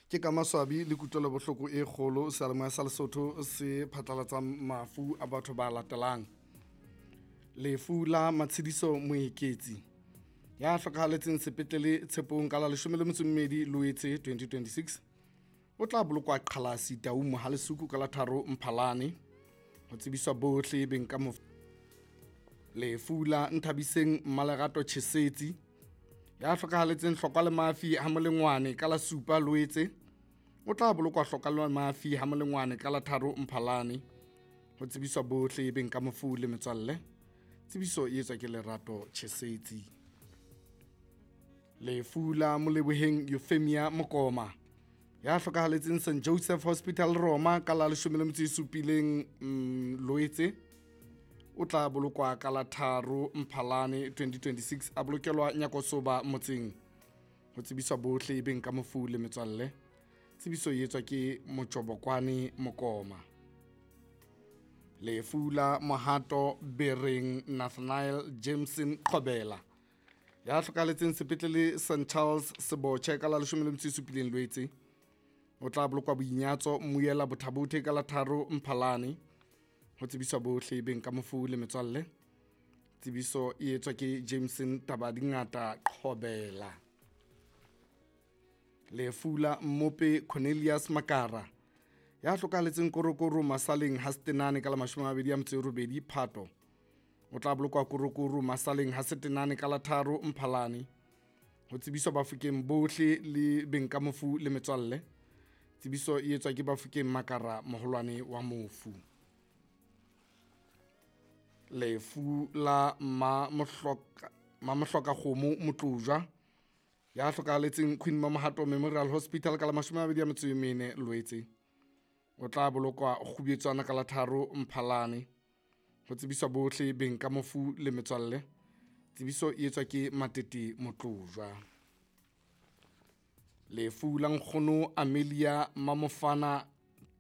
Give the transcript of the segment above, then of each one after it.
Ke ka maswabi le kutlwelobohloko e kgolo seyalemoya sa Lesotho se phatlalatsang mafu a batho ba latelang. Lefu la Matshediso Moeketsi ya hlokahaletseng sepetlele Tshepong ka la 12 Loetse 2026 o tla bolokwa Qhalasi Taung Mohalesuku ka la 3 Mphalane. Ho tsebiswa bohle beng ka mofu. Lefu la Nthabiseng Mmalerato Chesetsi ya hlokahaletseng Hlokwa le Mafi ha Molengwane ka la 7 Loetse o tla bolokwa Hlokwa le Mafi ha Molengwane ka la 3 Mphalane. Ho tsebiswa bohle beng ka mofu le metswalle. Tsebiso e etswa ke Lerato Chesetsi. Lefu la Moleboheng Euphemia Mokoma ya hlokahaletseng St Joseph Hospital Roma ka la 17 Loetse o tla bolokwa ka la 3 Mphalane 2026 a bolokelwa Nyakosoba motseng. Ho tsebiswa bohle beng ka mofu le metswalle. Tsebiso e etswa ke Motjobokwane Mokoma. Lefu la Mohato Bereng Nathaniel Jameson Qhobela ya hlokahaletseng sepetlele St Charles Seboche ka la 17 Loetse o tla bolokwa Boinyatso Mmuyela Bothabothe ka la 3 Mphalane. Ho tsebiswa bohle beng ka mofu le metswalle. Tsebiso e etswa ke Jameson Tabadingata Qhobela. Lefu la Mmope Cornelius Makara ya hlokahaletseng Korokoro Masaleng ha Setenane ka la 28 Phato o tla bolokwa Korokoro Masaleng ha Setenane ka la 3 Mphalane. Ho tsebiswa Bafokeng bohle le beng ka mofu le metswalle. Tsebiso e etswa ke Bafokeng Makara moholwane wa mofu. Lefu la Mamohloka Kgomo Motlojwa ya hlokahaletseng Queen Mamohato Memorial Hospital ka la 24 Loetse o tla bolokwa Kgubetswana ka la 3 Mphalane. Ho tsebiswa bohle beng ka mofu le metswalle. Tsebiso e etswa ke Matete Motlojwa. Lefu la nkgono Amelia Mamofana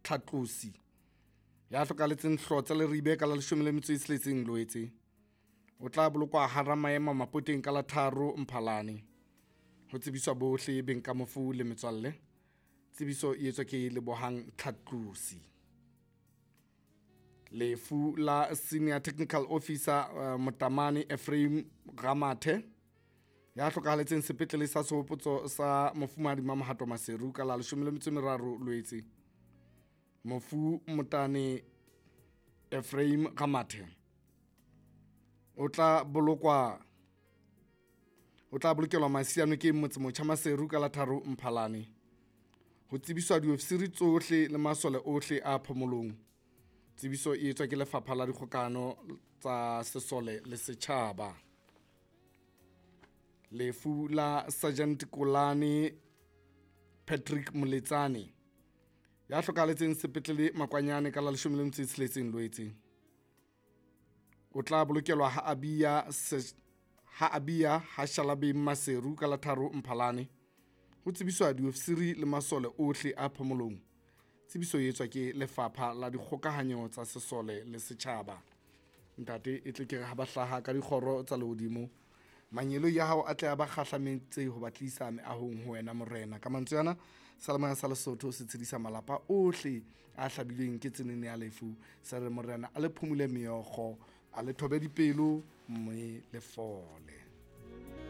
Tlhatlosi ya hlokahaletseng Hlotse Leribe ka la 16 Loetse o tla bolokwa hara maema Mapoteng ka la 3 Mphalane. Ho tsebiswa bohle beng ka mofu le metswalle. Tsebiso e etswa ke Lebohang Tlhatlosi. Lefu la Senior Technical Officer Motamane Ephraim Ramathe ya hlokahaletseng sepetlele sa Sehopotso sa Mofumahadi Mamohato Maseru ka la 13 Loetse. Mofu Motane Ephraim Ramathe o tla bolokelwa Masiano ke Motsemotjha Maseru ka la 3 Mphalane. Ho tsebiswa diofisiri tsohle le masole ohle a phomolong. Tsebiso e etswa ke Lefapha la Dikgokano tsa Sesole le Setjhaba. Lefu la Sergeant Kolane Patrick Moletsane ya hlokahaletseng sepetlele Makwanyane ka la 16 Loetse o tla bolokelwa ha Abia ha Shalabeng Maseru ka la 3 Mphalane. Ho tsebiswa diofisiri le masole ohle a phomolong. Tsebiso e etswa ke Lefapha la Dikgokahanyo tsa Sesole le Setjhaba. Ntate e tle ke re ha ba hlaha ka dikgoro tsa lehodimo, mangeloi ya hao a tle a ba kgahlametse ho ba tlisa meahong ho wena Morena. Ka mantswe ana seyalemoya sa Lesotho se tshedisa malapa ohle a hlabilweng ke tsenene ya lefu. Se re Morena a le phumule meokgo, a le thobe dipelo mme le fole.